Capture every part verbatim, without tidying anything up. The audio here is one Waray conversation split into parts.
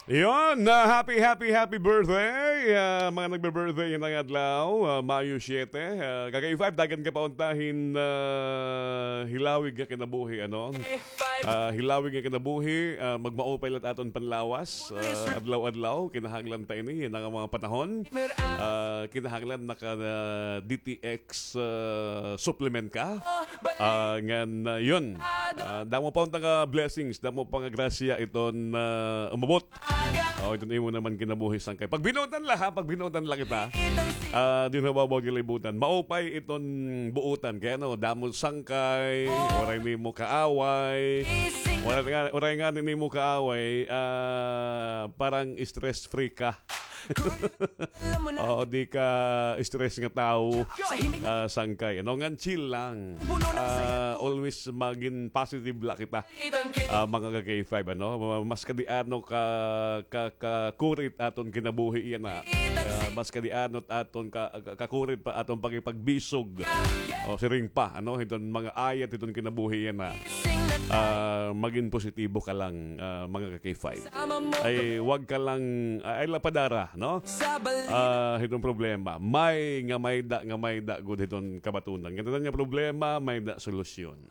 Yon, ah, happy, happy, happy birthday, ah, mga nagbe-birthday yana nga adlaw, ah, Mayo siyete. Ah, ka-K five, dagan ka pa unta hin, ah, hilawig nga kinabuhi, ano? Ah, hilawig nga kinabuhi, ah, magmaupay la it aton panlawas, ah, adlaw-adlaw, kinahanglan ta ini, yana nga mga panahon. Ah, kinahanglan naka, ah, D T X, ah, supplement ka. Ah, ngan, ah, yon. Ah, damo pa unta nga blessings, damo pa nga grasya iton, ah, umabot. O, iton imo naman kinabuhi, sangkay. Pagbinuotan la, ha? Pagbinuotan la kita. Ah, dinhi ha bawbaw nga kalibutan. Maupay iton buotan. Kay ano, damo sangkay, waray nimo kaaway. Waray nga, waray nga nimo kaaway, ah, parang stress free ka. Oo, di ka stress nga tawo, ah, sangkay. Ano, ngan chill lang. Ah, always magin positive la kita, ah, mga ka-K five, ano? Ma-, mas kadi ano ka, ka, kakurit aton kinabuhi yana. Ah, mas kadi ano aton ka, ka-, kakurit pa aton pakipagbisog. O, siring pa, ano? Hiton mga ayat, hiton kinabuhi yana. Ah, magin positibo ka lang, ah, mga ka-K five. Ay, wag ka lang, ah, ay, lapadara, no? Ah, hiton problema. May nga mayda, nga mayda gud hiton kabatunan. Kay tanan nga problema, mayda solusyon.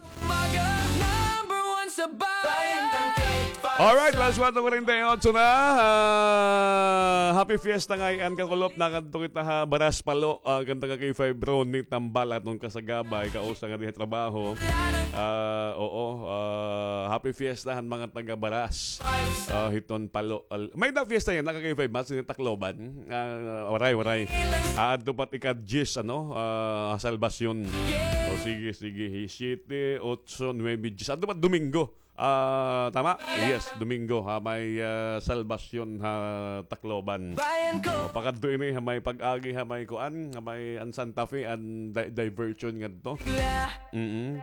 Alright, alas kuwatro kuwarenta y otso na. Ah, happy fiesta ngay-an, kakulop, nakadto kita ha Baras Palo. Ah, kanta ka-K five, Ronnie Tambal, aton kasagabay, kausa nga dinhi ha trabaho. Ah, oo, ah, happy fiesta han mga taga Baras. Ah, hiton Palo. Al-, mayda fiesta yana, ka-K five, mas ini Tacloban. Ah, waray, waray. Ah, adto pa it ika-diyes, ano, ah, Salvacion. O, sige, sige. Siyete, otso, nuwebe, diyes. Adto pa it Domingo. Ah, tama? Yes, Domingo, ha, may, ah, Salvacion ha Tacloban. O, pakadto ini, ha, may pag-agi, ha, may kuan, ha, may an Santa Fe, an di-, diversion ngadto. Mm-mm.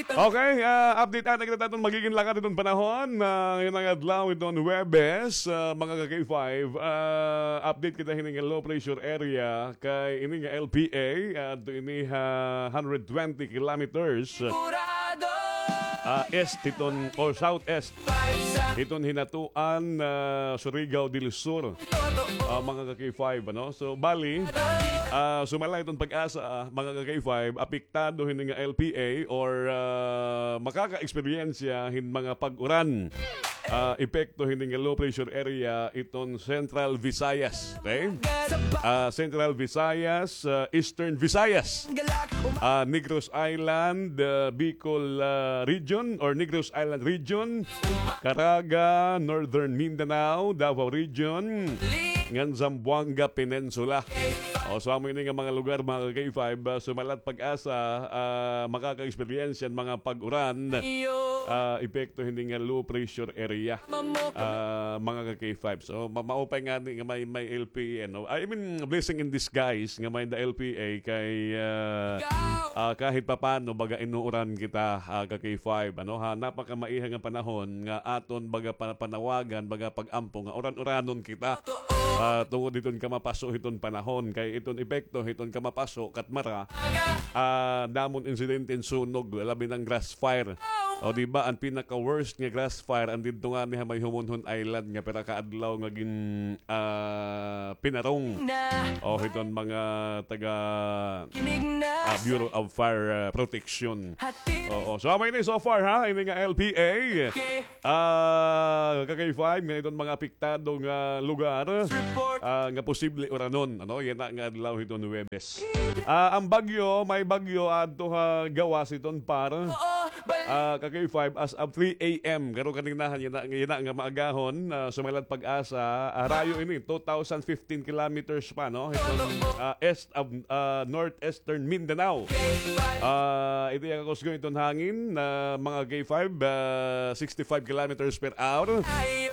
Okay, ah, update anay kita aton magigin lakad hiton panahon, ah, yana nga adlaw hiton Huwebes, ah, mga ka-K five, ah, update kita hini nga low pressure area, kay ini nga L P A, ah, adto ini ha hundred twenty kilometers, ah, east hiton, o southeast hiton Hinatuan, ah, Surigao del Sur. Ah, mga ka-K five, ano? So, bali, ah, sumala iton PAGASA, ah, mga ka-K five, apektado hini nga L P A or, ah, makaka-eksperyensya hin mga pag-uran. Ah, epekto hini nga low pressure area iton Central Visayas, okay? Ah, Central Visayas, ah, Eastern Visayas, ah, Negros Island, ah, Bicol, ah, region or Negros Island region, Caraga, Northern Mindanao, Davao Region, ngan Zamboanga Peninsula. O, so amo ini nga mga lugar, mga ka-K five, ah, sumala it PAGASA, ah, makaka-eksperyensya hin mga pag-uran, ah, epekto hini nga low pressure area, ah, mga ka-K five. So, ma-, maupay ngani nga may, may L P A, no? I mean, blessing in disguise nga may-ada L P A kay, ah, ah, kahit papano, baga inuuran kita, ah, ka-K five, ano, ha, napakamaiha nga panahon nga aton baga pa-, panawagan, baga pag-ampo nga uran-uranon kita. Ah, tungod hiton kamapaso hiton panahon, kay iton epekto hiton kamapaso, katmara, ah, damo an insidente hin sunog, labi na an grass fire. O, di ba, an pinaka-worst nga grass fire, an didto ngani ha may Homonhon Island nga pira ka adlaw nga gin-, ah, pinarong. O, hiton mga taga, ah, Bureau of Fire, ah, Protection. Oo. So, amo ini so far, ha, ini nga L P A. Ah, ka-K five, ngan iton mga apektado nga lugar, ah, nga posible uranon, ano, yana nga adlaw hiton Huwebes. Ah, an bagyo, may bagyo adto ha gawas hiton par. Ah, ka-K five, as of three A M. Garo kaninahan, yana, yana nga maagahon, ah, sumala it PAGASA, ah, harayo ini, two thousand fifteen kilometers pa, no? Hiton, ah, east of, ah, northeastern Mindanao. Ah, ito iya kakusgon iton hangin, ah, mga K five, ah, sixty-five kilometers per hour.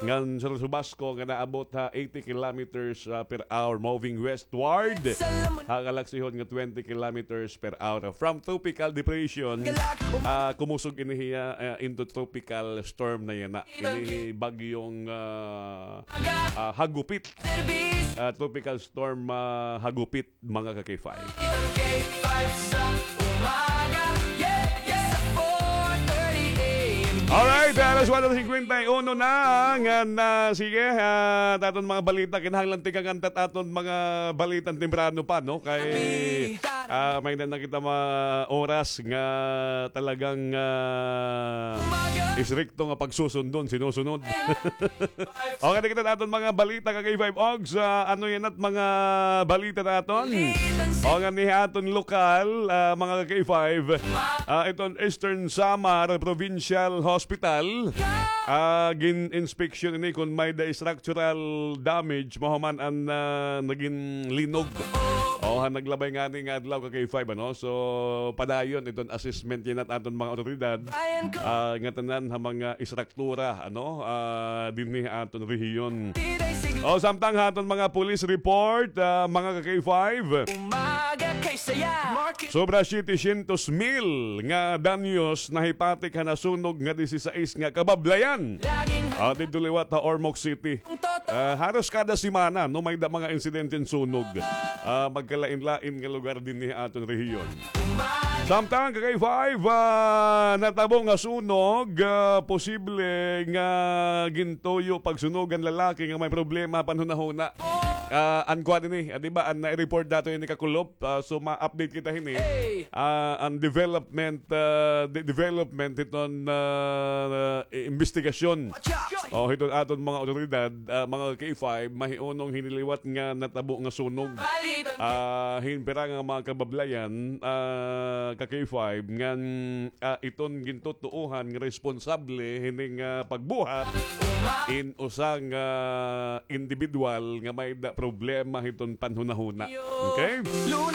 Ngan sa Subasko nga naabot ha eighty kilometers, ah, per hour, moving westward ha kalaksihon nga twenty kilometers per hour. From tropical depression, ah, kumusog ini hiya, ah, into tropical storm na yana. Ini bagyong, ah, ah, Hagupit. Ah, tropical storm, ah, Hagupit, mga ka-K five. K five sa umaga, yeah, yeah. Sa four thirty A M, Alright, alas kuwatro singkwenta y uno na nga na. Sige, ah, aton mga balita, kinahanglan tikang antat aton mga balita temprano pa, no? Kay, ah, may na nakita mga oras nga talagang, ah, istrikto nga pagsusundon, sinusunod. Okay, nakita naton mga balita ka K five Ogs. Ah, ano yan at mga balita naton? O nga ni aton lokal, ah, mga ka K five. Ah, iton Eastern Samar Provincial Hospital. Ah, gin-inspection ini kung may da structural damage, mahuman an, ah, nagin linog. O, han naglabay ngani nga adlaw ka K five, ano? So, padayon iton assessment yana aton mga otoridad. Ah, nga tanan ha mga istruktura, ano, ah, dinhi ha aton rehiyon. O, samtang ha aton mga police report, ah, mga ka K five. Sobra setecientos mil nga danyos nahipatik ha nasunog nga disisais nga kabablayan. Ah, didto liwat ha Ormoc City. Ah, haros kada semana, no, may da mga insidente hin sunog. Ah, magkalain-lain nga lugar dinhi ha aton rehiyon. Samtang ka K five, ah, natabo nga sunog, ah, posible nga gintuyo pagsunog an lalaki nga may problema panhunahuna. Ah, an kuan ini, ah, di ba, an na-report dato ini kakulop, ah, so ma-update kita hini. Ah, an development, ah, de-, development hiton, ah, i-, imbestigasyon. O, hiton aton mga otoridad, ah, mga K five, mahiunong hini liwat nga natabo nga sunog. Ah, hin pira nga mga kabablayan, ah, ka K five, ngan, ah, iton gintutuohan nga responsable hini nga pagbuhat in usa nga individual nga may da problema hiton panhunahuna. Okay?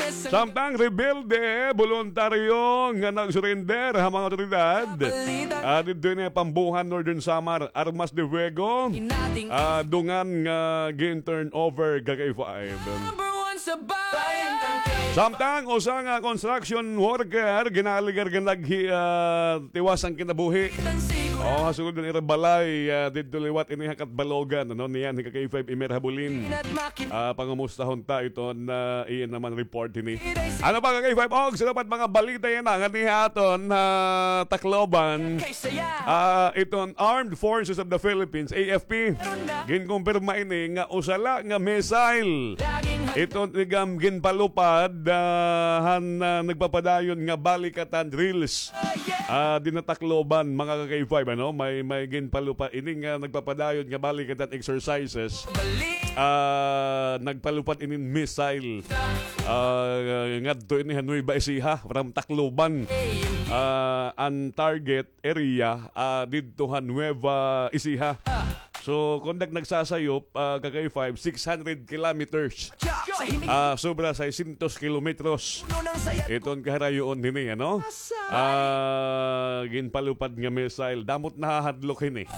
Samtang rebelde, boluntaryo nga nag-surrender ha mga otoridad. Ah, didto ini Pambuhan, Northern Samar, armas de fuego. Ah, dungan nga gin-turn over ka K five. Samtang usa nga construction worker ginaligar nga naghi-, ah, tiwas an kinabuhi. O, ha sulod han ira balay, ah, didto liwat ini ha Catbalogan, ano, niyan hi ka K five Emer Habulin. Ah, pangumustahon ta iton, ah, iya naman report hini. Ano pa ka K five Ogs, ano pa mga balita yana nga dinhi ha aton, ah, Tacloban? Ah, iton Armed Forces of the Philippines, A F P. Ginkumpirma ini nga usa la nga missile iton igam ginpalupad, ah, han, ah, nagpapadayon nga balikatan drills. Ah, dinhi ha Tacloban, mga ka K five, ano? May, may ginpalupad ini nga nagpapadayon nga balikatan exercises. Ah, nagpalupad ini missile. Ah, ngadto ini ha Nueva Ecija, from Tacloban. Ah, an target area, ah, didto ha Nueva Ecija. So, kung nag-, nagsasayop, ah, ka K five, six hundred kilometers. Ah, sobra seiscientos kilometros. Iton kaharayoon hini, ano? Ah, ginpalupad nga missile. Damo it nahahadlok hini.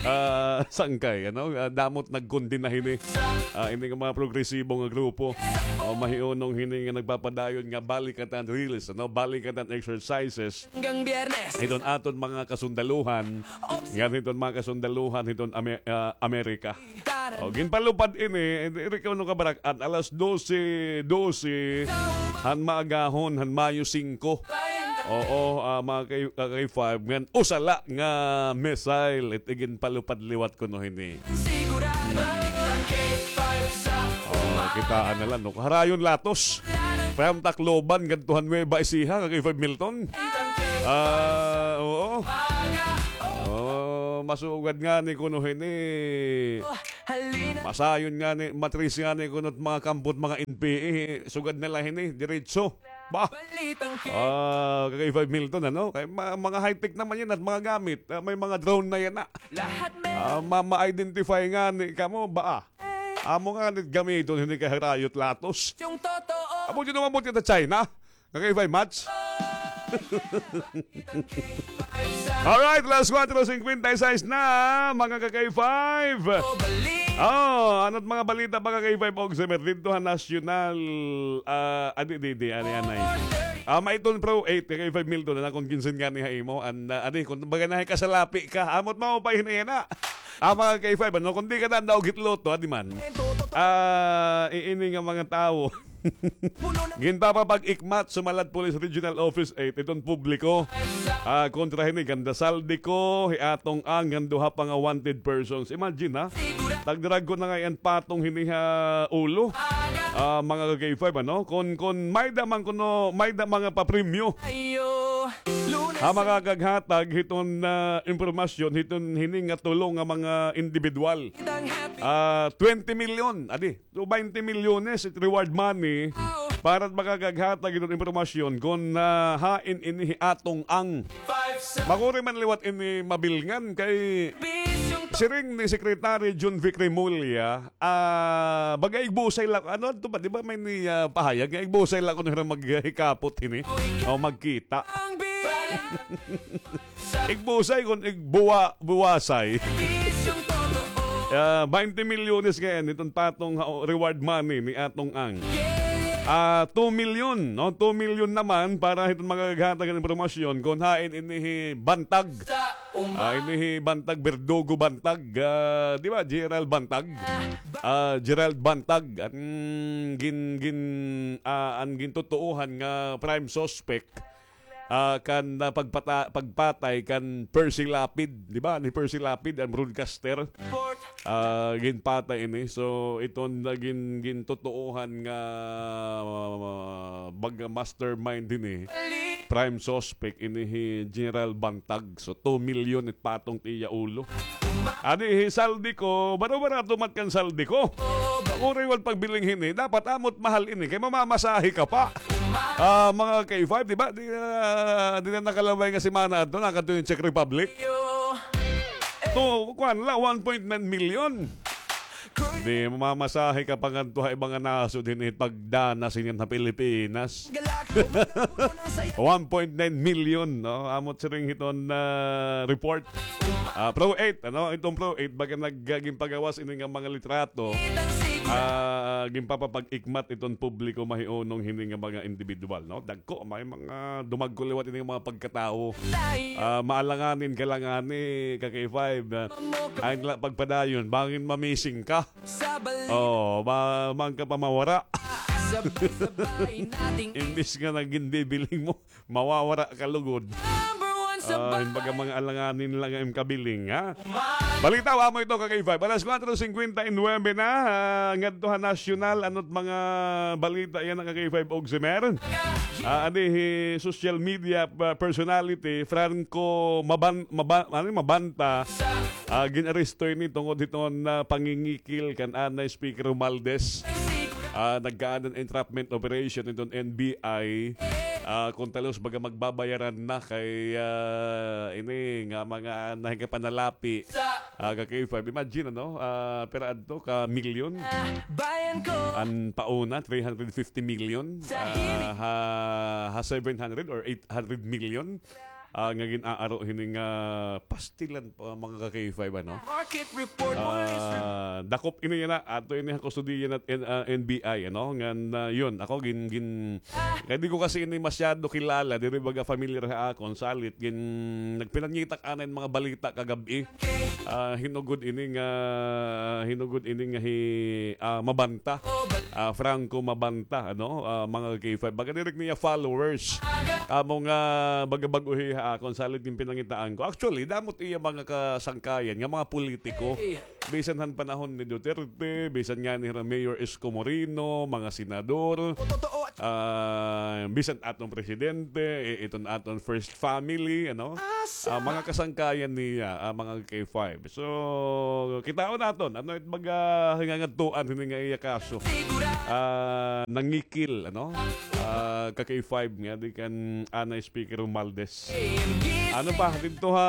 Ah, sangkay, ano? Ah, damo it nagkondena hini. Ah, ini nga mga progresibo nga grupo. O, mahiunong hini nga nagpapadayon nga balikatan drills, ano? Balikatan exercises. Hiton aton mga kasundaluhan, ngan hiton mga kasundaluhan hiton Ame-, ah, Amerika. O, ginpalupad ini, diri kuno kabarak-an, alas dose dose han maagahon han Mayo singko. Oo, ah, mga kay, ah, kay five, ngan usa la nga missile it iginpalupad liwat kuno hini. Oh, kitaa na la, no? Kaharayon latos. From Tacloban ngadto han Nueva Ecija, ka K five Milton. Ah, oo. Oh, masugad ngani kuno hini. Masayon ngani, matris ngani kuno it mga kampo it mga N P A, sugad na la hini, diretso. Ba? Ah, ka K five Milton, ano? Kay ma-, mga high-tech naman yana at mga gamit. Ah, may mga drone na yana. Ah, ma-, ma-identify ngani kamo ba, ah? Amo ngani gamiton hini kay harayo it latos. Amo dyan naman mo kita China. Ka K five Mats. Alright, alas kuwatro singkwenta y sais na, mga ka K five. Oh, ano it mga balita, mga ka K five, og sa didto ha nasyonal, ah, adi, di, di, ani, anay. Ah, maiton Pro eight, ka K five Milton, na kung kinsin ngani ha imo, an, ah, adi, kung baga na kasalapi ka, amo it maupay hini yana. Ah, mga ka K five, ano, kung di ka tanda og hitloto, adi man. Ah, iini nga mga tawo. Ginpapapag-ikmat Sumalat Police Regional Office eight iton publiko. Ah, kontra hini kan Zaldy Co, hi Atong Ang, ngan duha pa nga wanted persons. Imagine, ha? Tagdragon na ngay-an patong hini ha ulo. Ah, mga ka-K five, ano? Kon, kon may-ada man kuno, may-ada mga papremyo. Ha makakaghatag hiton, ah, impormasyon hiton hini nga tulo nga mga individual. Ah, twenty million, adi, to twenty milyones it reward money para makakaghatag hiton impormasyon kon, ah, hain ini hi Atong Ang. Makuri man liwat ini mabilngan kay siring ni Secretary Jun Vic Remulla, ah, baga igbusay la, ano adto ba, di ba may ni, ah, pahayag nga igbusay la kuno hira maghikapot hini o magkita. Igbusay kon igbuwa-, buwasay. Ah, twenty milyones ngay-an iton patong ha-, reward money ni Atong Ang. Ah, two million, no? Two million naman para hiton makakaghatag hin impormasyon kon hain ini hi Bantag. Ah, ini hi Bantag, Berdugo Bantag, ah, di ba? Gerald Bantag. Ah, Gerald Bantag, an gin-, gin-, ah, an gintutuohan nga prime suspect, ah, kan, ah, pagpata-, pagpatay kan Percy Lapid, di ba? Ni Percy Lapid, an broadcaster. Ah, ginpatay ini. So, iton na gin-, gintutuohan nga, ah, baga mastermind ini. Prime suspect ini hi General Bantag. So, two million it patong it iya ulo. Adi hi Zaldy Co, baro-barato man kan Zaldy Co. Makuri man pagbiling hini, dapat amo it mahal ini kay mamamasahe ka pa. Ah, mga K five, di ba? Di, ah, di na nakalabay nga semana adto, nakadto hin Czech Republic. To, kuan la, one point nine million. Di, mamamasahe ka pa ngadto ha iba nga nasod hini pagdanas hini ha Pilipinas. One point nine million, no? Amo it siring hiton, ah, report. Ah, Pro eight, ano? Iton Pro eight, baga nag-, ah, ginpagawas ini nga mga litrato. Ah, ginpapapag-ikmat iton publiko mahiunong hini nga mga individual, no? Dagko, may mga dumagko liwat ini nga mga pagkatawo. Ah, maalanganin ka la ngani, ka-K five, ah, ay la pagpadayon, bangin ma-missing ka. Oh, ma-, man ka pa mawara. Imbis nga nagin bibiling mo, mawawara ka lugod. Ah, hin baga mga alanganin la nga im kabiling, ha? Balita, amo ito, ka-K five. Alas kuwatro singkwenta y nuwebe na, ah, ngadto ha nasyonal, ano it mga balita yana, ka-K five Ogsimer? Ah, adi hi social media, ah, personality, Franco Maban-, Maba-, ano, Mabanta, ah, gin-aresto ini tungod hiton, ah, pangingikil kan anay Speaker Romualdez. Ah, nagkaada hin entrapment operation iton N B I. Ah, kon talos baga magbabayaran na kay, ah, ini nga mga nahikapanalapi. Ah, ka-K five, imagine, ano? Ah, pira adto ka milyon? An pauna, three hundred fifty million. Ah, ha, ha seven hundred or eight hundred million. Ah, nga gin-aaro hini nga pastilan pa, mga ka-K five, ano? Market report. Ah, dakop ini yana, ato ini ha kustodiya na N-, ah, N B I, ano? Ngan, ah, yun, ako gin-, gin-, kay di ko kasi ini masyado kilala, diri baga familiar ha akon, salit gin-, nagpinangitak anay mga balita kagab-i. Ah, hinugod ini nga, hinugod ini nga hi, ah, Mabanta. Ah, Franco Mabanta, ano? Ah, mga K five. Baga diri niya followers. Amo nga baga bag-o hi ha akon, salit gin pinangitaan ko. Actually, damo it iya mga kasangkayan nga mga politiko. Bisan han panahon ni Duterte, bisan ngani hira Mayor Isko Moreno, mga senador, ah, bisan aton presidente, i-, iton aton first family, ano? Ah, mga kasangkayan niya, ah, mga K five. So, kitaon naton, ano it baga hingangadtuan hini nga iya kaso? Ah, nangikil, ano? Ah, ka-K five nga, di kan anay Speaker Romualdez. Ano pa, didto ha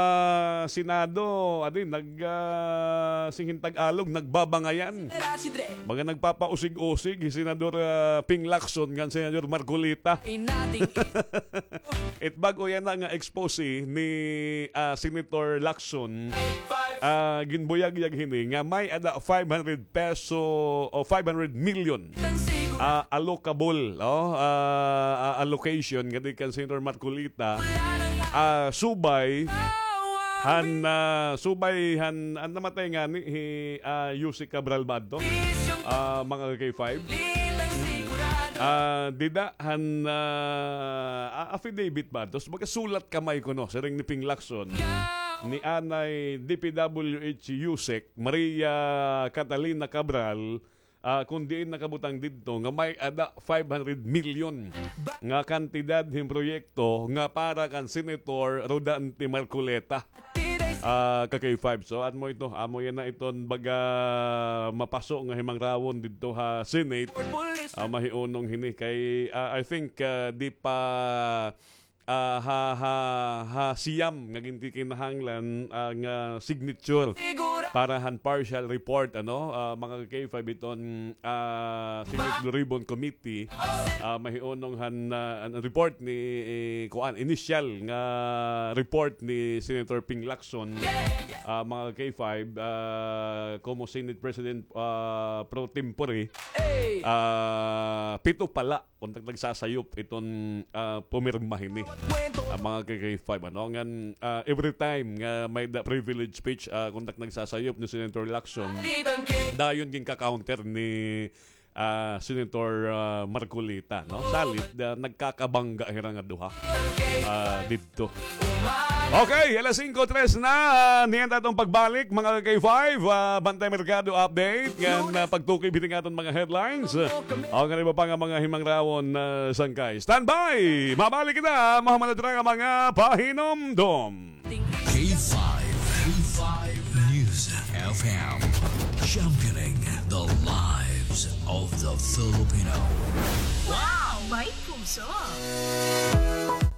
Senado, adi, nag, ah, sing hin Tagalog, nagbabangayan. Mga nagpapausig-usig, hi Senador, ah, Ping Lacson, ngan Senador Marcoleta. It bag-o yana nga expose ni, ah, Senator Lacson, ah, ginbuyagyag hini nga may-ada five hundred peso o five hundred million, ah, allocable, oh, ah, ah, allocation nga di kan Senator Marcoleta, ah, subay han, ah, subay han, an namatay ngani hi, ah, Yusek Cabral ba adto? Ah, mga K five. Ah, dida han, ah, a-, affidavit ba? Tapos magkasulat kamay kuno, siring ni Ping Lacson, ni anay D P W H USEC, Maria Catalina Cabral, ah, kun diin nakabutang didto nga may-ada five hundred million nga kantidad hin proyekto nga para kan Senator Rodante Marcoleta. Ah, ka K five. So, amo ito, amo yana iton baga mapaso nga himangrawan didto ha Senate. Ah, mahiunong hini kay, ah, I think, ah, di pa, ah, ha, ha, ha siyam nga ginkikinahanglan, ah, nga signature para han partial report, ano, ah, mga ka K five, iton, ah, Senate Blue Ribbon Committee, ah, mahiunong han, ah, an report ni, eh, kuan, initial nga report ni Senator Ping Lacson, ah, mga ka K five, ah, como Senate President, ah, pro tempore, ah, pito pala kon tak nagsasayop iton, ah, pumirma hini. Ah, mga ka K five, ano, ngan, ah, every time nga may-ada privilege speech, ah, kon tak nagsasayop ni Senator Lacson, dayon ginka-counter ni, ah, Senator, ah, Marcoleta, no? Salit, ah, nagkakabangga hira nga duha, ah, didto. Okay, alas singko tres na, ah, niyan aton pagbalik, mga ka K five, ah, Bantay Merkado update, ngan, ah, pagtukob hini nga aton mga headlines. O, ngan iba pa nga mga himangrawan, ah, sangkay. Standby! Mabalik kita, mahuman na nga mga pahinumdom. K five, K five News F M, championing the lives of the Filipino. Wow! May puso!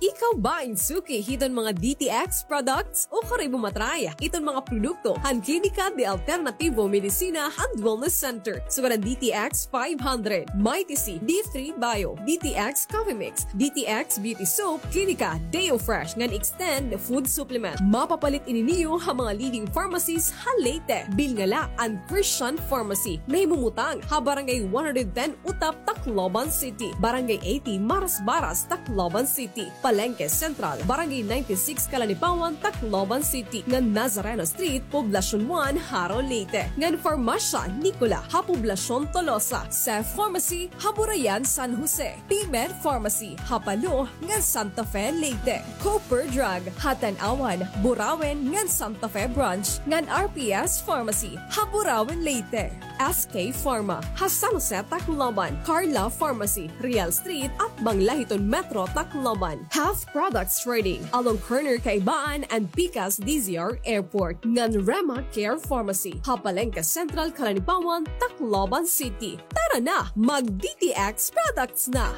Ikaw ba in suki hiton mga D T X products? O kari mo matry iton mga produkto han Klinika de Alternativo Medicina and Wellness Center. Sugad an D T X five hundred, Mighty C, D three Bio, D T X Coffee Mix, D T X Beauty Soap, Klinika Deo Fresh ngan Extend Food Supplement. Mapapalit ini niyo ha mga leading pharmacies ha Leyte. Bilngala an Christian Pharmacy, nahimumutang ha Barangay one hundred ten Utap, Tacloban City, Barangay eighty Marasbaras, Tacloban City, Palengke Central, Barangay ninety-six Calanipawan, Tacloban City, ngan Nazareno Street, Poblacion one, Jaro, Leyte, ngan Farmasya Nicola ha Poblacion Tolosa, Cef Pharmacy ha Burayan, San Jose, P-Med Pharmacy ha Palo ngan Santa Fe, Leyte, Cooper Drug ha Tanauan, Burauen ngan Santa Fe Branch, ngan R P S Pharmacy ha Burauen, Leyte. S K Pharma ha San Jose, Tacloban, Carla Pharmacy, Real Street, atbang la hiton Metro Tacloban, Health Products Trading along corner Kaibaan and Pikas D Z R Airport, ngan Rema Care Pharmacy ha Palengke Central, Calanipawan, Tacloban City. Tara na, mag D T X products na!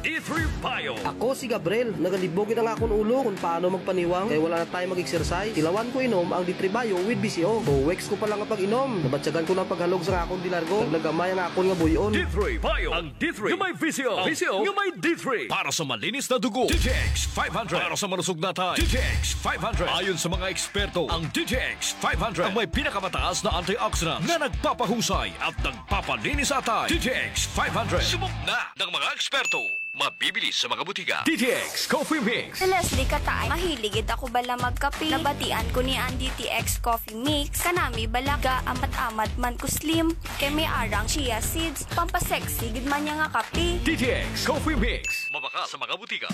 D three Bio. Ako si Gabriel. Nagalibog it an akon ulo kon paano magpaniwang kay wala na tayo mag-exercise. Tilawan ko inom ang D three Bio with V C O. Two weeks ko pa lang nga pag-inom, nabatyagan ko na an paghalog sa akon dilargo. Naglagamay ang akon nga buy-on. D three Bio. Ang D three nga may V C O. V C O nga may D three. Para sa malinis na dugo, D T X five hundred. Para sa malusog na atay, D T X five hundred. Ayon sa mga eksperto, ang D T X five hundred ang may pinakamataas na antioxidant na nagpapahusay at nagpapalinis sa atay. D T X five hundred. Subok na ng mga eksperto. Mabibili sa mga butika. D T X Coffee Mix. Si Leslie Kataay, mahilig gid ako bala magkape. Nabatian ko niya an D T X Coffee Mix. Kanami bala, gaamat-amat man ko slim. Kay may ara an chia seeds. Pampasexy gid man niya nga kape. D T X Coffee Mix. Mabaka sa mga butika.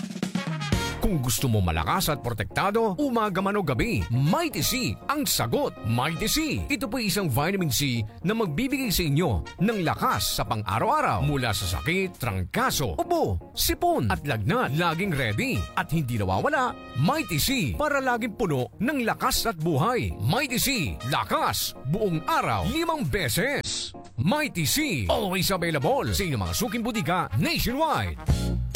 Kung gusto mo malakas at protektado, umaga man o gabi, Mighty C ang sagot. Mighty C. Ito po'y isang vitamin C na magbibigay sa inyo ng lakas sa pang-araw-araw mula sa sakit, trangkaso, ubo, sipon, at lagnat. Laging ready at hindi nawawala, Mighty C para laging puno ng lakas at buhay. Mighty C, lakas, buong araw, limang beses. Mighty C, always available sa inyong mga suking butika nationwide.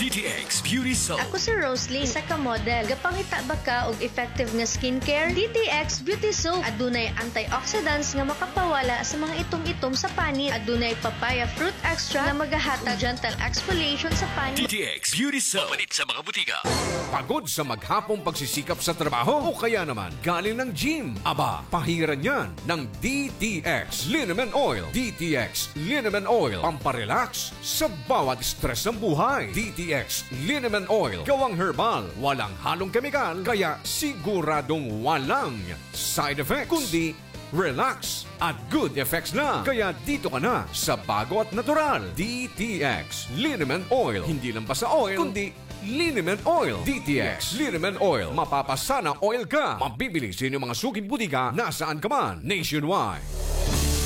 D T X Beauty Soap. Ako si Rosalie, isa ka model. Gapangita ba ka og effective nga skincare? D T X Beauty Soap. Adunay antioxidants nga makapawala sa mga itom-itom sa panit. Adunay papaya fruit extract nga magahatag gentle exfoliation sa panit. D T X Beauty Soap. Mapalit sa mga butika. Pagod sa maghapong pagsisikap sa trabaho o kaya naman galing ng gym? Aba, pahiran yan ng D T X Liniment Oil. D T X Liniment Oil. Pamparelax sa bawat stress ng buhay. D T X Liniment Oil. Gawang herbal, walang halong kemikal, kaya siguradong walang side effects, kundi relax at good effects na. Kaya dito ka na sa bago at natural. D T X Liniment Oil. Hindi lang basta oil, kundi Liniment Oil. D T X Liniment Oil. Mapapasana oil ka. Mabibili sa inyong mga suking butika nasaan ka man nationwide.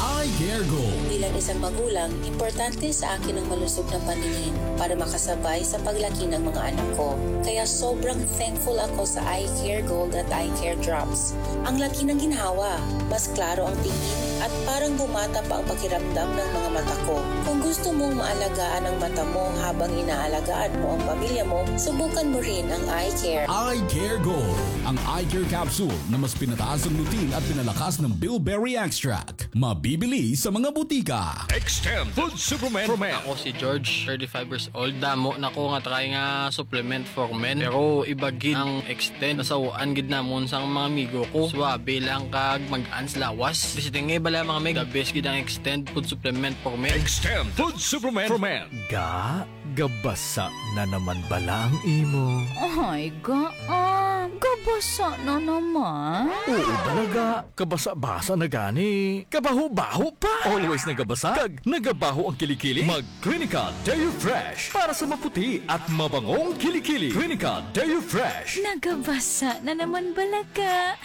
Eye Care Gold. Bilang isang magulang, importante sa akin ang malusog na paningin para makasabay sa paglaki ng mga anak ko. Kaya sobrang thankful ako sa Eye Care Gold at Eye Care Drops. Ang laki ng ginhawa, mas klaro ang tingin, at parang bumata pa ang pakiramdam ng mga mata ko. Kung gusto mong maalagaan ang mata mo habang inaalagaan mo ang pamilya mo, subukan mo rin ang Eye Care. Eye Care Gold, ang eye care capsule na mas pinataas ang lutein at pinalakas ng bilberry extract. Mabibili sa mga butika. Extend Food Supplement. Ako si George, thirty-five years old. Damo na ko nga try nga supplement for men. Pero iba gid ang Extend. Nasawaan gid namon sa mga amigo ko. Suabe lang kag mag-ans lawas. Basta nga bala mga meg, the best gid ang Extend Food Supplement for Men. Extend Food Supplement for Men. Ga, gabasa na naman bala ang imo? Ay, ga, ah, gabasa na naman. Oo, talaga. Kabasa-basa na gani. Kabaho-baho pa. Always nagabasa. Kag nagabaho ang kilikili. Mag Clinica Deo Fresh para sa maputi at mabangong kilikili. Clinica Deo Fresh. Nagabasa na naman bala ka.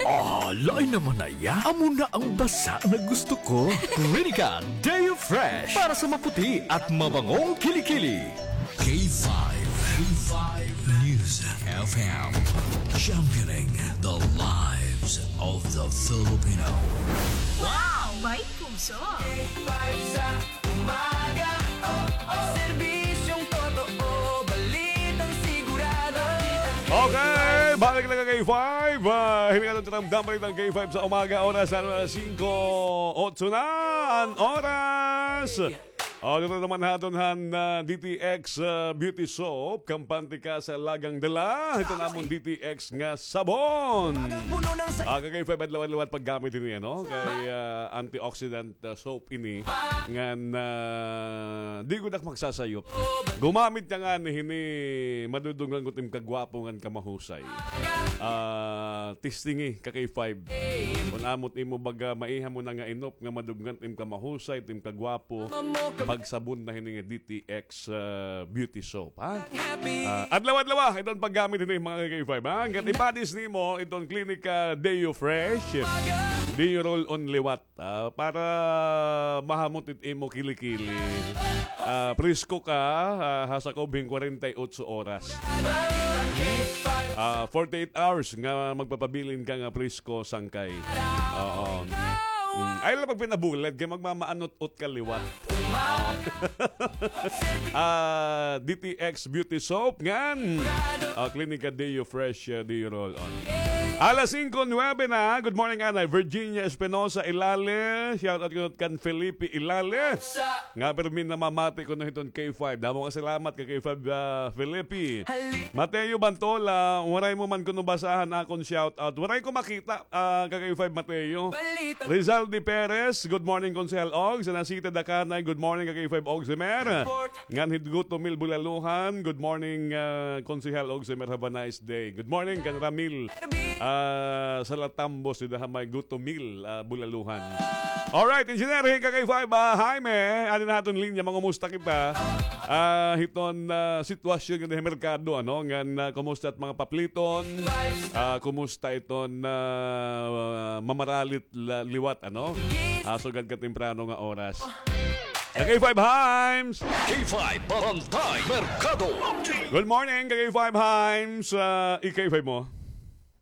Ah, lain naman na iya. Amo na ang basa na gusto ko. Clinica Deo Fresh para sa maputi at mabangong kilikili. K five, K five News F M, championing the lives of the Filipino. Wow! May puso! K five sa umaga, oh, oh. Serbisyong totoo, balitang sigurado. Okay, balik na ka K five. Ah, hini nga aton tinamdaman, balitang K five sa umaga, oras na alas singko otso na an oras. O, dito naman ha aton han, ah, D T X, ah, Beauty Soap, kampante ka sa lagang dala. Ito namon D T X nga sabon. Ah, kay five adlaw-adlaw paggamit ini, ano? Kay, ah, antioxidant, ah, soap ini. Ngan, ah, di gud ak magsasayop. Gumamit ka ngani hini, madudungan gud im kagwapo ngan kamahusay. Ah, testingi ka kay five. Kon amo it imo baga, maiha mo na nga inop nga maduggan it im kamahusay, it im kagwapo, pagsabon na hini nga D T X, ah, beauty soap, ha? Ah, adlaw-adlaw, ah, iton paggamit hini, mga K five, ha? Ngan ipadis nimo iton Clinica Deo Fresh, Deo Roll-On Liwat. Ah, para mahamot it imo kilikili. Ah, presko ka, ah, ha sakob hin kwarenta y otso oras. Ah, forty-eight hours nga magpapabilin ka nga presko, sangkay. Oo. Mm. Ayaw la pagpinabulad, kay magmamaanot-ot ka liwat. Ah, D T X Beauty Soap ngan, ah, Clinica Deo Fresh, ah, Deo Roll-On. Alas singko nuwebe na. Good morning, anay. Virginia Espinosa Ilale. Shout out kuno kan Felipe Ilale. Nga pirmi namamati kuno hiton K five. Damo nga salamat ka K five, ah, Felipe. Mateo Bantola, waray mo man kuno basahan akon shout out. Waray ko makita, ah, ka K five Mateo. Rizaldi Perez, good morning, Konsehal Og. Sa Nasita Dakanay, good morning, ka K five Og Semer. Ngan hit Guto Mil Bulaluhan, good morning, ah, Konsehal Og Semer, have a nice day. Good morning, kan Ramil, ah, Salatambos, dida ha may Guto Mil, ah, Bulaluhan. Alright, Engineer, hin ka K five, ah, Jaime, adi na aton linya, mangumusta kita. Ah, hiton, ah, sitwasyon nga ha merkado, ano, ngan, ah, kumusta it mga papliton? Ah, kumusta iton, ah, mamaralit la-, liwat, ano? Ah, sugad katemprano nga oras. K five Himes! K five Barangay Merkado. Good morning, K five Himes. Ah, i-K five mo.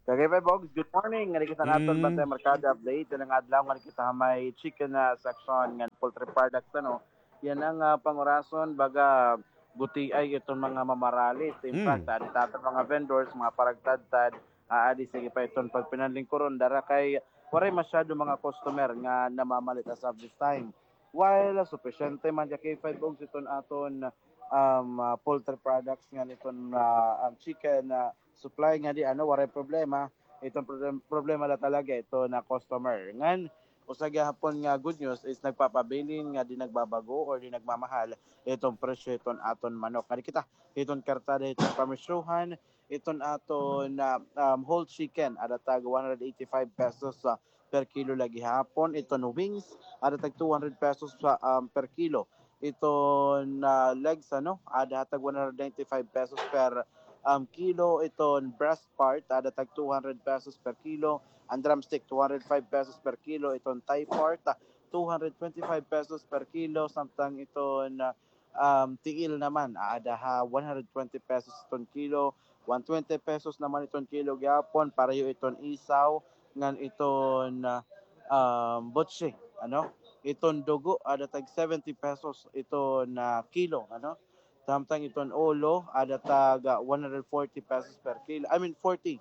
K five Bogs, good morning. Ngari kita naton Mm. Bantay Merkado update. Yan ang adlaw, ngari kita ha may chicken, ah, section ngan poultry products, ano. Yan ang, ah, pangurason, baga, gutiay iton mga mamaralit. In Mm. fact, adi ta aton mga vendors, mga paragtadtad, ah, adi sige pa iton pagpinanlingkuron, dara kay waray masyado mga customer nga namamalit as of this time. While, ah, supisyente man dya K five Bogs iton aton, um, ah, poultry products nga niton, ah, ang chicken, ah, supply nga di, ano, waray problema. Iton problem, problema la talaga ito na customer. Ngan, Usa gihapon nga good news is nagpapabilin nga di nagbabago or di nagmamahal iton presyo hiton aton manok. Ngadi kita hiton kartada hiton pamisyuhan, iton aton, ah, um, whole chicken, ada tag one hundred eighty-five pesos, ah, per kilo la gihapon. Iton wings, ada tag two hundred pesos sa, um, per kilo. Iton, ah, legs, ano, ada tag one hundred ninety-five pesos per, um, kilo. Iton breast part, ada tag two hundred pesos per kilo. An drumstick, two hundred five pesos per kilo. Iton thigh part, ah, two hundred twenty-five pesos per kilo. Samtang iton, ah, um, tiil naman, ada ha one hundred twenty pesos iton kilo. One twenty pesos naman iton kilo gihapon, pareho iton isaw, ngan iton, ah, um, butsi, ano? Iton dugo, ada tag seventy pesos iton, ah, kilo, ano? Samtang iton ulo, ada tag, ah, one hundred forty pesos per kilo. I mean, forty.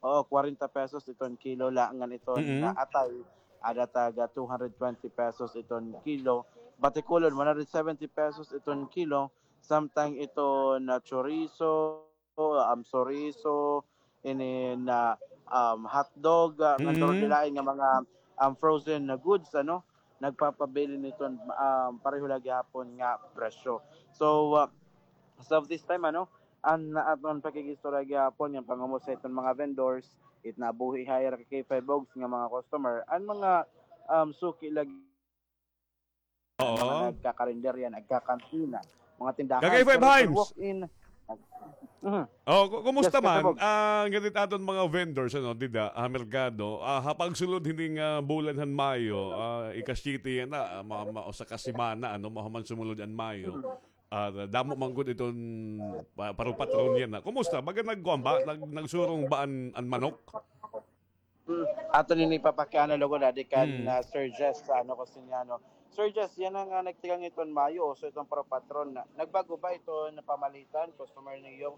Oo, kwarenta pesos iton kilo la, ngan iton, ah, atay, ada tag, ah, two hundred twenty pesos iton kilo. Batikulon, one hundred seventy pesos iton kilo. Samtang iton, ah, chorizo, um, chorizo, inin, ah, um, hotdog, ah, ngan duro di lain nga mga, um, frozen na goods, ano, nagpapabilin iton, um, pareho la gihapon nga presyo. So, ah, as of this time, ano, an aton pakikiistorya gihapon, nga pangumusta iton mga vendors, it nabuhi ha ira ka K five Ogs nga mga customer, an mga, um, suki la Oo. Mga nagkakarinderya, nagkakantina, mga tindahan. Kagay Five Himes. Walk-in. Mhm. Oh, ku-, kumusta man? Yes, Kuya Bog. Ah, ngadit aton mga vendors, ano, dida, ha merkado, ah, ha pagsulod hini nga, ah, bulan han Mayo, ah, ika-siyete yana, ah, ma-, ma-, usa ka semana, ano, mahuman sumulod an Mayo. Mhm. Ah, damo man gud iton pa-, paru-patron yana. Kumusta? Baga nagkuan ba? Nag-, nagsurong ba an, an manok? Hmm. Aton ini papakiana lugod adi kan, ah, Sir Jess, ano, Kusiniano. Sir Jess, yana nga nagtikang iton Mayo, so iton paru-patron na. Nagbago ba iton pamalitan, customer niyo?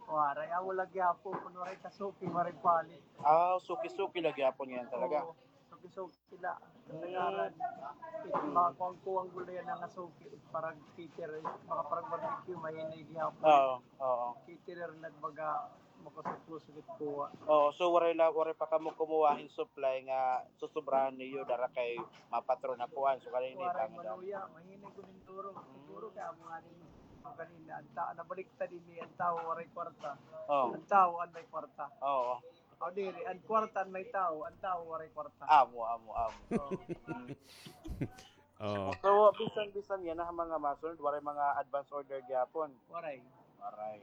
Waray, amo la gihapon, kun waray kasuki, waray palit. Ah, suki-suki la gihapon yana talaga. Oo, suki-suki la. Kasagaran, it mga kuwang-kuwang gud la yana nga suki, para cater, mga para barbecue, mahinay gihapon. Oo, oo. Caterer nagbaga, makusog-kusog it kuha. Oo, so waray la, waray pa kamo kumuha hin supply nga susubrahan niyo dara kay mapatron na kuan. So, kanini waray maluya, mahinay gud hin duro. Siguro kay amo nga din, amo kanina, an ta-, nabaliktad ini, an tawo waray kwarta. Oo. An tawo an may kwarta. Oo. O diri, an kwarta an may tawo, an tawo waray kwarta. Amo, amo, amo. Oo. Oo. So, bisan, bisan yana ha mga masunod, waray mga advance order gihapon? Waray. Waray.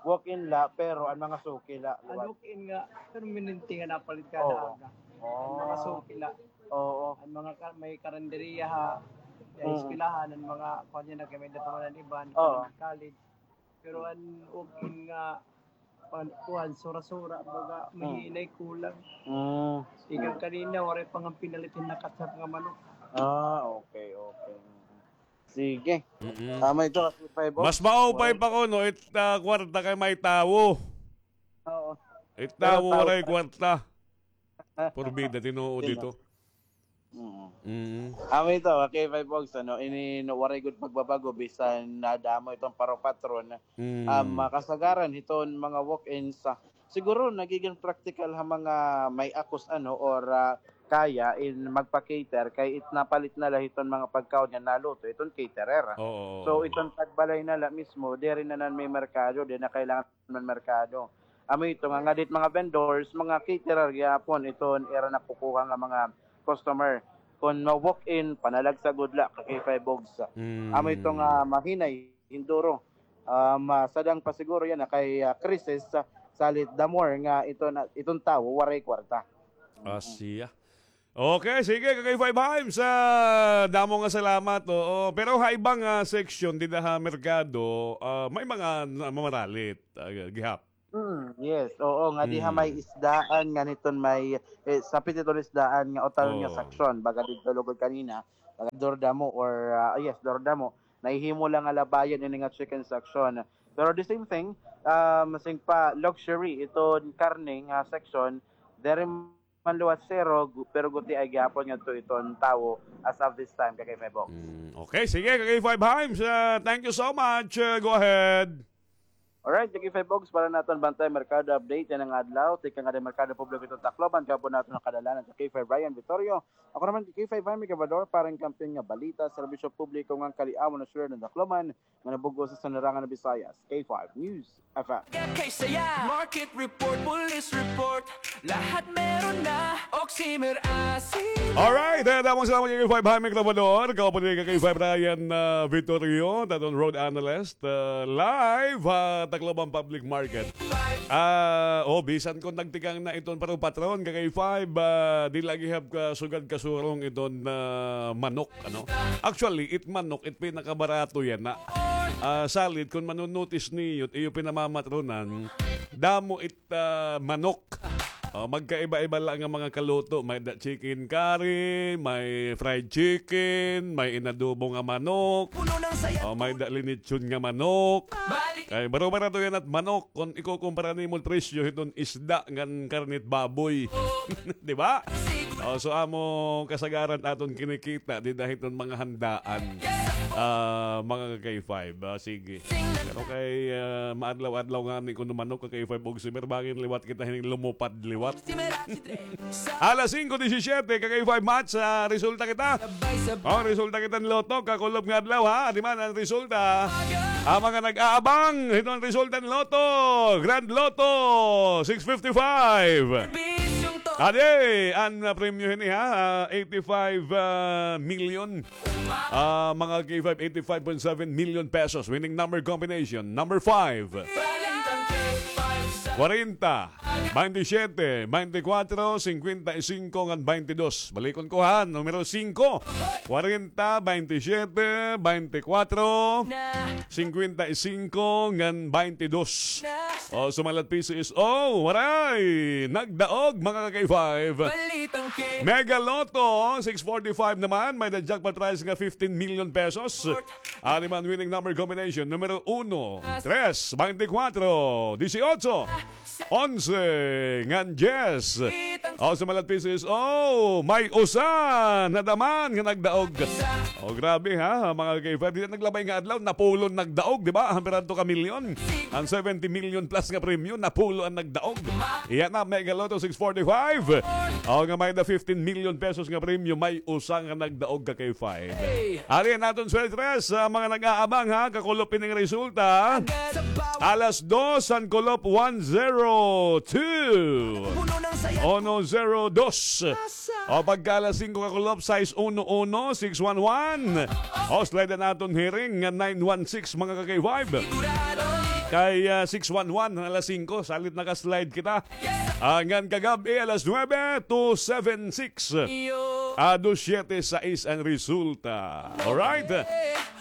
Walk-in la, pero an mga suki la, liwat. An walk-in nga, permanente nga napalit kada aga. Oo. An mga suki la. Oo. An mga ka-, may karinderiya ha, ha eskwelahan, an mga, kuan yana, kay may-ada pa man an iban, college. Pero an walk-in nga, pan-, kuan, sura-sura, baga, mahinay, kulang. Mm. Ikan kanina, waray pa nga pinalit hin nakasap nga manok. Ah, okay, okay. Sige. Mm-mm. Tama ito, K five Ogs. Mas maupay pa kuno, it, ah, kwarta kay may tawo. Oo. It tawo, waray kwarta. Porbida, tinuod ito. Mm. Mm. Amo ito, K five Ogs, ano, ini, no, waray gud pagbabago, bisan nadamo iton paru-patron. Mm. Um, kasagaran, hiton mga walk-ins, ah, siguro, nagigin praktikal ha mga may akos, ano, or, ah, kaya in magpa-cater, kay it napalit na la hiton mga pagkaon nga naluto, iton caterer. Oo. So, iton tagbalay na la mismo, diri na nan may merkado, di na kailangan man merkado. Amo ito nga, ngadi it mga vendors, mga caterer gihapon iton ira nakukuha nga mga customer. Kon ma-walk-in, panalagsa gud la, ka K five Ogs. Mm. Amo ito nga mahinay, hin duro. Ah, masadang pa siguro yana kay, ah, krisis, ah, salit the more nga iton, iton tawo waray kwarta. Ah, siya. Okay, sige, ka K five Himes, ah, damo nga salamat, oo. Pero ha iba nga section dida ha merkado, ah, may mga namamaralit, ah, gihap. Mm, yes, oo, ngadi ha may isdaan, ngan hiton may, eh, sapit hiton isdaan nga utalon nga section, baga didto lugod kanina, baga Dordamo or, ah, yes, Dordamo, nahihimo la nga labayan ini nga chicken section. Pero the same thing, um, sing pa luxury, iton karne nga section, diri man liwat zero, gu-, pero gutiay gihapon ngadto iton tawo as of this time, ka K five Ogs. Mm, okay, sige, ka K five Himes, ah, thank you so much. Ah, go ahead. Alright, K five Ogs, para naton bantay merkado update yana nga adlaw. Tikang nga merkado publiko iton Tacloban, gihapon naton kadalanan K five Ryan Vittorio. Ako naman K five Jaime Gabador, para han kamping nga balita, serbisyo publiko ngan kaliawon han syudad han Tacloban, nga nabug-os ha larangan han Visayas. K five News F M. Kay saya, market report, police report, lahat meron na, Oximer Asin. Alright, eh, damo nga salamat K five Jaime Gabador, kauban ni K five Ryan, ah, Vittorio, aton road analyst, ah, live, ah, Tacloban Public Market. Ah, oh, bisan kon nagtikang na iton paro patron, K five, ah, di lagi hab kasugad kasurong iton, ah, manok, ano? Actually, it manok, it pinakabarato yana. Ah, salit, kon mano-notice niyo, it iyo pinamamatronan, damo it, ah, manok. Oh, magkaiba-iba la nga mga kaluto. May-ada chicken curry, may fried chicken, may inadobo nga manok. Oh, may-ada linitsyon nga manok. Kay baro-barato yana it manok kon ikukumpara nimo presyo hiton isda ngan karne it baboy. Di ba? Oh, so amo kasagaran aton kinikita dida hiton mga handaan. Ah, mga ka-K five, ah, sige. Pero kay, ah, maadlaw-adlaw ngani kuno manok ka-K five Oximer, bangin liwat kita hini lumupad liwat. Alas singko disisiyete, ka-K five Mats, ah, resulta kita. Oh, resulta kita han Lotto, kakulop nga adlaw, ha? Adi man an resulta. An mga nag-aabang hiton resulta han Lotto, Grand Lotto six fifty-five. Adi, an, ah, premyo hini, ha? Ah, eighty-five, ah, million. Ah, mga K five, eighty-five point seven million pesos. Winning number combination, number five. Kwarenta, baynte siyete, baynte kwatro, singkwenta y singko, ngan baynte dos. Balikon ko, ha, numero singko. Kwarenta, baynte siyete, baynte kwatro, singkwenta y singko, ngan baynte dos. O, sumalat P C S O, waray nagdaog, mga ka-K five. Mega Lotto six forty-five naman, may-ada jackpot prize nga fifteen million pesos. Adi man winning number combination, numero uno, tres, baynte kwatro, disiotso, onse, ngan diyes. O, sumalat P C S O, may usa na daman nga nagdaog. O, grabe, ha, mga ka-K five. Dida naglabay nga adlaw, napulo an nagdaog, di ba? Hamper adto ka milyon. An seventy million plus nga premyo, napulo an nagdaog. Iya na, Mega Lotto six forty-five. O, nga may-ada fifteen million pesos nga premyo, may usa nga nagdaog, ka-K five. Adi an aton swerte tres, sa mga nag-aabang, ha, kakulop ining resulta. Alas dos, an kulop one zero two. Uno zero dos. O, pagka alas singko kakulop, sais uno uno, six one one. O, slide an aton hiring nga nine one six, mga ka-K five. Kay, ah, six one one, alas singko, salit naka-slide kita. Ah, ngan kagab-i, alas nuebe, two seven six. Ah, dos siyete sais an resulta. Alright.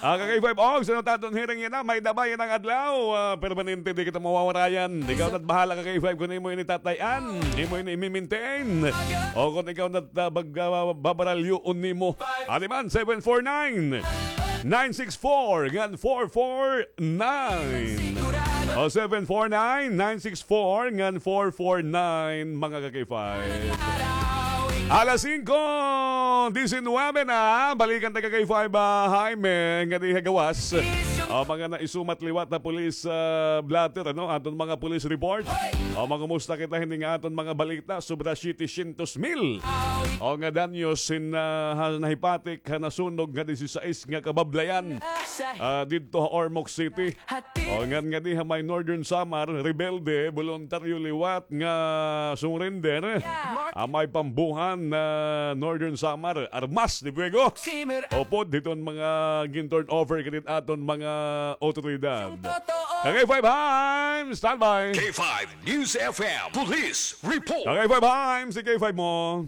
Ah, ka-K five Ogs, ano it aton hiring yana? May-ada ba yana nga adlaw? Ah, permanente, di kita mawawarayan. Ikaw na't bahala, ka-K five, kon imo ini tatay-an, imo ini imi-maintain. O kon ikaw na't, ah, bag-, ah, babaralyoon nimo. Adi man, seven four nine, nine six four, ngan four four nine. O, seven four nine, nine six four, ngan four four nine, mga ka-K five. Alas singko, disinwebe na. Balikan ta ka-K five, ah, Jaime, ngadi ha gawas. O, mga naisumat liwat na police, ah, blotter, ano? Aton mga police report. O, mangumusta kita hini nga aton mga balita. Sobra siyete syentos mil. O, nga danyos hin, ah, ha, nahipatik ha nasunog nga disisais nga kabablayan. Ah, didto ha Ormoc City. O, ngan ngadi ha may Northern Samar, rebelde, boluntaryo liwat nga surrender. Ah, may pambuhan na Northern Samar, armas de fuego. Upod hiton mga gin-turn over kay aton mga otoridad. Ka-K five Jaime, standby. K five News F M Police Report. Ka-K five Jaime, si K five mo.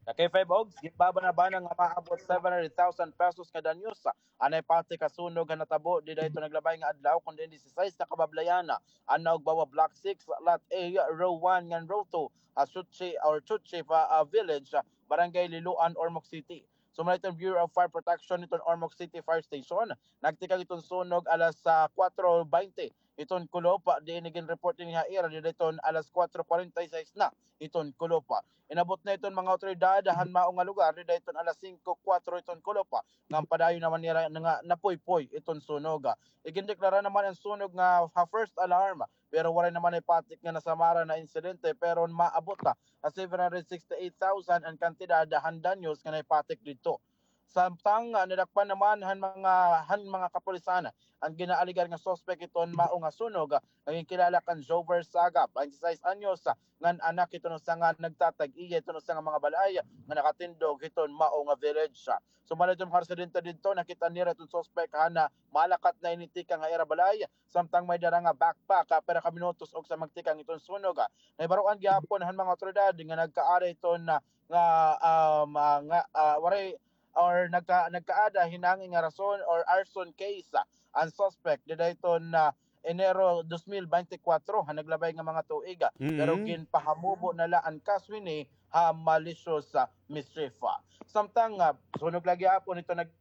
Ka-K five Ogs, ginbabana-bana nga maabot seven hundred thousand pesos nga danyos an nahipatik ha sunog nga natabo dida hiton naglabay nga adlaw, kon diin disisais na kabablayan, an Naugbawa Block six, Lot A, Row one ngan Row two, ha Chuchi or Chuchi pa, ah, Village, ah, Barangay Liloan, Ormoc City. Sumala hiton Bureau of Fire Protection hiton Ormoc City Fire Station, nagtikang hiton sunog alas, ah, kuwatro baynte hiton kulop, ah, diin ginreport ini ha ira dida hiton alas kuwatro kwarenta y sais na hiton kulop, ah. Inabot na hiton mga awtoridad han mao nga lugar dida hiton alas singko kuwatro hiton kulop, ah, ngan padayon naman nira nga napuypoy iton sunog, ah. Igindeklara naman an sunog nga ha first alarm, pero waray naman nahipatik nga nasamaran na insidente, pero maabot, ah, ha seven hundred sixty-eight thousand an kantidad han danyos nga nahipatik didto. Samtang, ah, nadakpan naman han mga, han mga kapulisan an ginaalegar nga suspek hiton mao nga sunog, ah, nga ginkilala kan Jover Saga, twenty-sais anyos, ah, ngan anak hiton usa nga nagtatag-iya hiton usa nga mga balay nga nakatindog hiton mao nga village. Sumala hiton mga residente didto, nakit-an nira hiton suspek han, ah, malakat na ini tikang ha ira balay, samtang may dara nga backpack, ah, pira ka minutos ugsa magtikang hiton sunog, ah. Nahibaroan gihapon han mga awtoridad nga nagkaada hiton, ah, nga, um, ah, nga, ah, waray or nagka-, nagkaada hin nangin nga rason or arson case, ah, an suspek dida hiton, ah, Enero dos mil bente kuwatro, ha naglabay nga mga tuig, ah. Pero ginpahamubo na la an kaso hini ha malicious, ah, mischief, ah. Samtang, ah, sunog la gihapon hiton nag-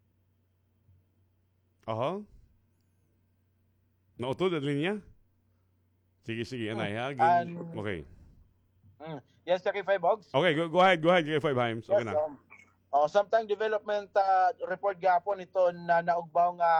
Aha. Nautod an linya? Sige, sige, anay, ha? Gin-, okay. Mm. Yes, K five Ogs? Okay, go, go ahead, go ahead, K five Himes. Okay na. Yes, um, oh, samtang development, ah, report gihapon hiton naugbaw nga,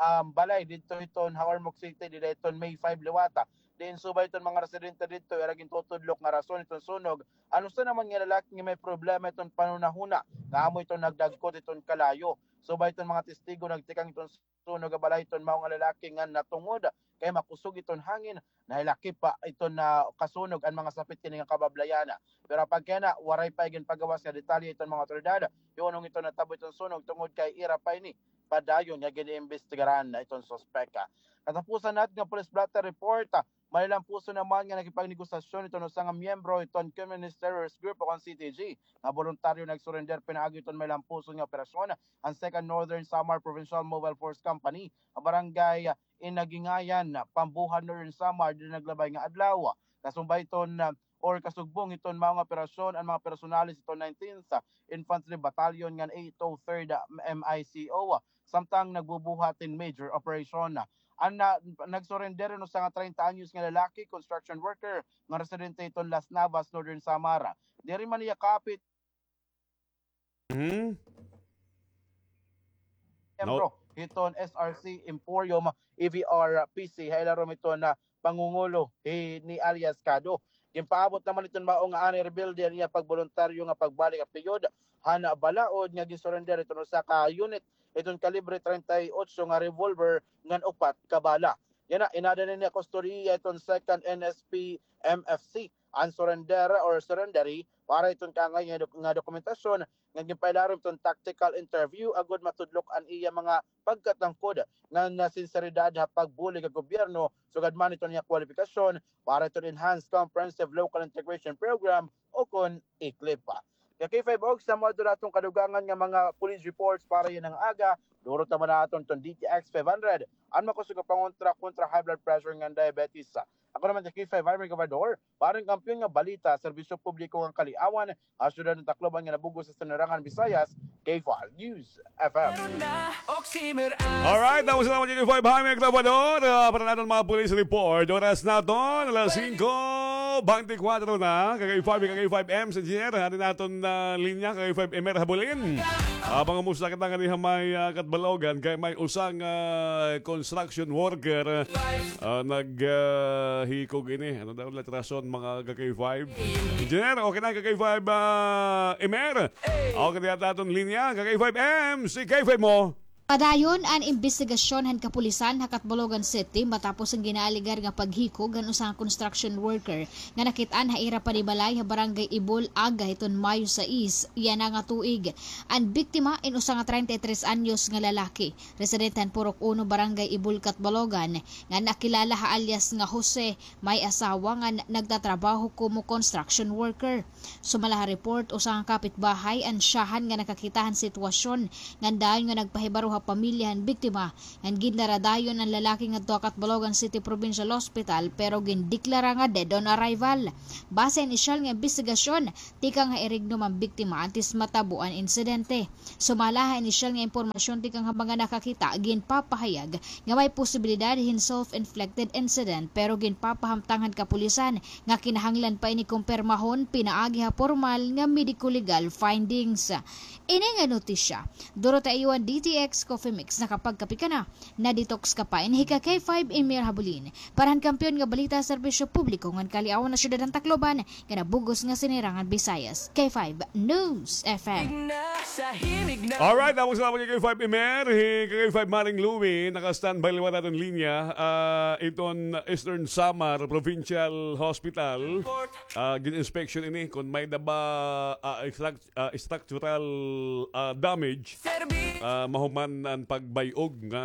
um, balay didto hiton ha Ormoc City, dida hiton May five liwata. Diin subay hiton mga residente didto, ira gintutudlok nga rason hiton sunog, an usa naman nga lalaki nga may problema hiton panhunahuna nga amo hiton nagdagkot hiton kalayo. Subay hiton mga testigo, nagtikang hiton sunog ha balay hiton mao nga lalaki ngan natungod kay makusog iton hangin, nahilakip pa iton nakasunog an mga sapit hini nga kabablayan. Pero apang kay ana, waray pa ginpagawas nga detalye iton mga awtoridad hiunong iton natabo iton sunog tungod kay ira pa ini padayon nga giniimbestigaran iton suspek. Katapusan naton nga police blotter report, Malilampuson naman nga nakipagnegosasyon iton usa nga miyembro iton Communist Terrorist Group o kon C T G nga boluntaryo nagsurrender pinaagi iton malilampuson nga operasyon an Second Northern Samar Provincial Mobile Force Company ha barangay Inagingayan, Pambuhan, Northern Samar, dida naglabay nga adlaw. Kasumbay iton, ah, or kasugbong iton mao nga operasyon an mga personalis iton nineteenth Infantry Battalion ngan eight oh third M I C O, samtang nagbubuhat hin major operation. An na-, nagsurrender an usa nga treinta anyos nga lalaki, construction worker, nga residente hiton Las Navas, Northern Samar. Diri man niya kapit Mhm. miyembro hiton S R C Emporium, E V R P C, ha ilarom hiton, ah, pangungulo hi, ni alias Kado. Ginpaabot naman iton mao nga anay rebelde an iya pagboluntaryo nga pagbalik ha piyod han balaod nga ginsurrender iton usa ka unit iton kalibre treinta y ocho nga revolver ngan upat ka bala. Yana, inada na niya kustodiya iton Second N S P M F C an surrender or surrenderee para iton kaangay nga dok-, nga dokumentasyon nga ginpailarom iton tactical interview agod matudlok an iya mga pagkatangkod ngan sinseridad ha pagbulig ha gobyerno sugad man iton iya kwalipikasyon para iton Enhanced Comprehensive Local Integration Program o kon ECLIP. Kay K five Ogs, amo adto an aton kadugangan nga mga police reports para yana nga aga. Durot naman naton iton D T X five hundred, an makusog nga pangontra kontra high blood pressure ngan diabetes. Ako naman si K five Harvey Gobernador, para han Kampiyon nga Balita, Serbisyo Publiko ngan Kaliawan, ha siyudad han Tacloban nga nabug-os ha Sinirangan Visayas, K five News F M. Alright, tapos na naman K five Harvey Gobernador, ah, para naton mga police report. Oras naton, alas singko bente kuwatro na, ka K five, ka K five M, sa Engineer, hari naton, ah, linya, ka K five Emer Habulin. Ah, pangumusta kita ngani ha may, ah, Catbalogan, kay may usa nga, ah, construction worker, ah, nag, ah, hikog ini. Ano daw la rason, mga ka K five? Engineer, okay na, ka K five, ah, Emer? Okay na yata aton linya, ka K five M, si K five mo. Padayon an imbestigasyon han kapulisan ha Catbalogan City matapos an ginaalegar nga paghikog han usa nga construction worker nga nakit-an ha ira panibalay ha Barangay Ibol aga hiton Mayo sais yana nga tuig. An biktima in usa nga treinta y tres anyos nga lalaki, residente han Purok Uno, Barangay Ibol, Catbalogan, nga nakilala ha alias nga Jose, may asawa ngan nagtatrabaho komo construction worker. Sumala ha report, usa nga kapitbahay an syahan nga nakakita han sitwasyon ngan dayon nga nagpahibaro pamilya han biktima, ngan gindaradayon an lalaki ngadto ha Catbalogan City Provincial Hospital, pero gindeklara nga dead on arrival. Base han inisyal nga imbestigasyon, tikang ha Irignom an biktima antes matabo an insidente. Sumala ha inisyal nga impormasyon tikang ha mga nakakita, ginpapahayag nga may posibilidad hin self-inflicted incident, pero ginpapahamtang han kapulisan nga kinahanglan pa ini kumpirmahon pinaagi ha pormal nga medico-legal findings. Ini nga notisya, duro ta iyo an D T X Coffee Mix, nakapagkape ka na, na-detox ka pa. Ini hi ka K five Emir Habulin, para han kampiyon nga balita, serbisyo publiko ngan kaliawan ha syudad han Tacloban, nga nabug-os nga sinirangan Visayas, K five News F M. Alright, tapos na po ni K five Emer, hi K five Maring Louie, naka-standby liwat aton linya. Ah, iton Eastern Samar Provincial Hospital, ah, gin-inspection ini kung may-ada ba, ah, struct-, ah, structural, ah, damage, ah, mahuman an pagbay-og nga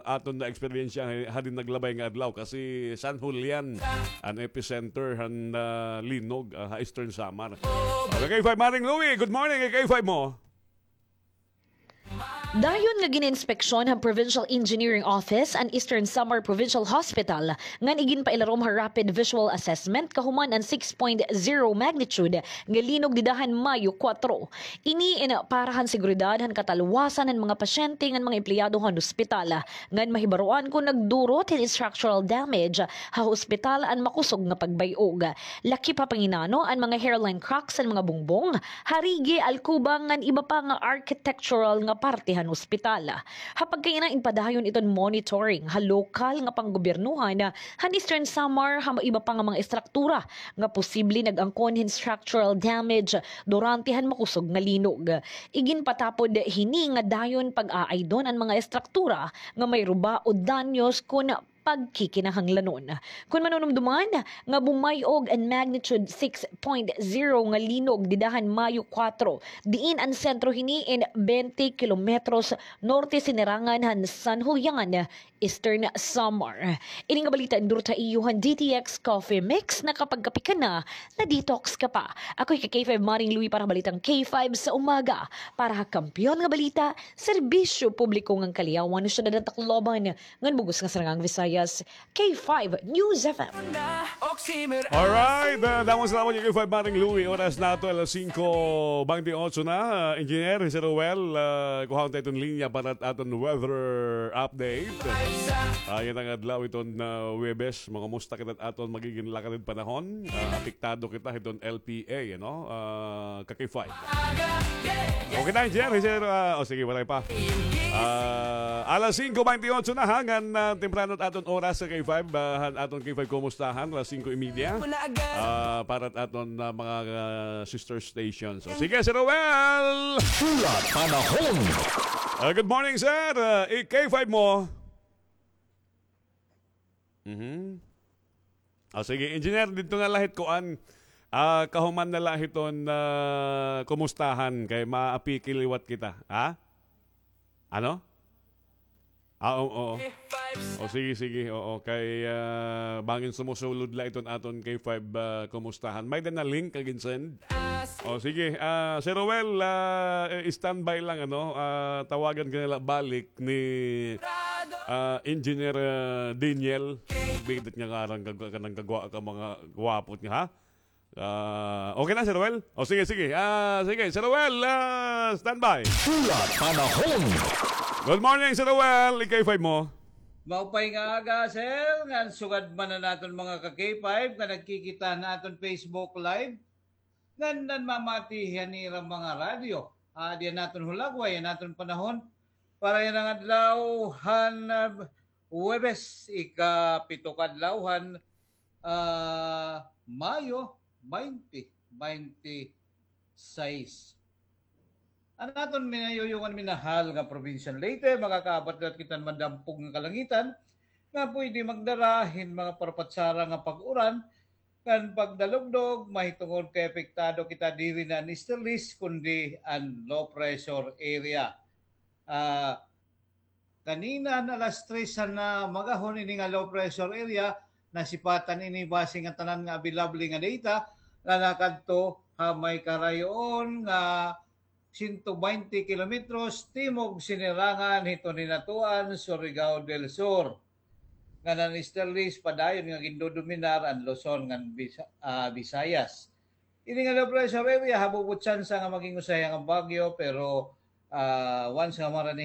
aton na-eksperyensya ha-, hadin naglabay nga adlaw, kasi San Julian an epicenter han, ah, linog, ah, ha Eastern Samar. Okay, K five Maring Louie, good morning, K five mo. Dayon nga gin-inspeksyon han Provincial Engineering Office an Eastern Samar Provincial Hospital ngan iginpailarom ha rapid visual assessment kahuman an six point zero magnitude nga linog dida han Mayo kuwatro. Ini in para han seguridad han katalwasan han mga pasyente ngan mga empleyado han ospital, ngan mahibaroan kon nagdurot hin structural damage ha ospital an makusog nga pagbay-og. Lakip ha panginano an mga hairline cracks han mga bungbong, harigi, alkuba ngan iba pa nga architectural nga parte han ospital. Ha pagkaina, ginpadayon iton monitoring ha lokal nga panggobyernohan han Eastern Samar ha iba pa nga mga estruktura nga posible nag-angkon hin structural damage durante han makusog nga linog. Iginpatapod hini nga dayon pag-aaydon an mga estruktura nga may ruba o danyos kon pagkikinahanglanon. Kon manunumduman nga bumay-og an magnitude six point zero nga linog dida han Mayo kuwatro, diin an sentro hini in bente kilometros norte sinirangan han San Julian, Eastern Samar. Ini nga balita duro ta iyo han D T X Coffee Mix, nakapagkape ka na, na-detox ka pa. Ako hi ka K five Maring Louie para ha Balitang K five sa umaga. Para ha Kampiyon nga Balita, serbisyo publiko ngan kaliawan ha syudad han Tacloban, ngan bug-os nga sinirangan Visayas, K five News F M. Alright, ah, damo salamat, K five Maring Louie. Oras naton alas singko bente otso na. Ah, Engineer, hi Sir Roel, ah, kuhaon ta iton linya para aton weather update. Ah, yana nga adlaw iton, ah, Huwebes, mangumusta kita aton magigin lakad hin panahon. Ah, apektado kita hiton L P A, ano? Ah, ka K five. Okay na, Engineer, hi Sir, ah, o sige, waray pa. Ah, alas singko bente otso na, ha, ngan, ah, temprano aton oras ha K five, ah, han aton K five Kumustahan, alas singko y media. Ah, para aton, ah, mga, ah, sister stations. So, sige, Sir Roel! Pula Panahon. Ah, good morning, sir. Ah, i-, K five mo. Mhm. O, sige, Engineer, didto na la hit kuan. Ah, kahuman na la hiton, ah, Kumustahan kay maapiki liwat kita, ha? Ano? Ah, oo, oo. O, sige, sige, oo. Kay, ah, bangin sumusulod la iton aton K five, ah, Kumustahan. May-ada na link nga gin-send. O, sige. Ah, Sir Roel, ah, eh, standby lang, ano? Ah, tawagan ka na la balik ni, ah, Engineer, ah, Daniel. Bigat nga ngaran ka, ka, kanang kagwa-, ka mga gwapot nga, ha? Ah, okay na, Sir Roel? O, sige, sige. Ah, sige, Sir Roel, ah, standby. Pula Panahon. Good morning, Sir Roel. I-K five mo. Maupay nga aga, sir. Ngan sugad man an aton mga ka-K five nga nagkikita han aton Facebook Live. Ngan nanmamati han ira mga radyo. Ah, diyan naton hulagway, an aton panahon. Para yana nga adlaw han, ah, Huwebes, ikapito ka adlaw han, ah, Mayo, baynte, baynte sais. An aton minayuyong ngan minahal nga probinsya han Leyte, makakaabat liwat kita han madampog nga kalangitan, nga pwede magdara hin mga parapatsara nga pag-uran, ngan pagdalugdog, mahitungod kay apektado kita diri na an easterlies, kundi an low pressure area. Ah, kanina han alas tres han, ah, magahon ini nga low pressure area, nasipatan ini base nga tanan nga available nga data, nga nakadto ha may karayoon nga sento baynte kilometros timog sinirangan hiton Hinatuan, Surigao del Sur. Ngan an easterlies padayon nga gindodominar an Luzon ngan Bisa-, ah, Visayas. Ini nga low pressure area, habubot tsansa nga maging usahay nga bagyo, pero, ah, once nga marani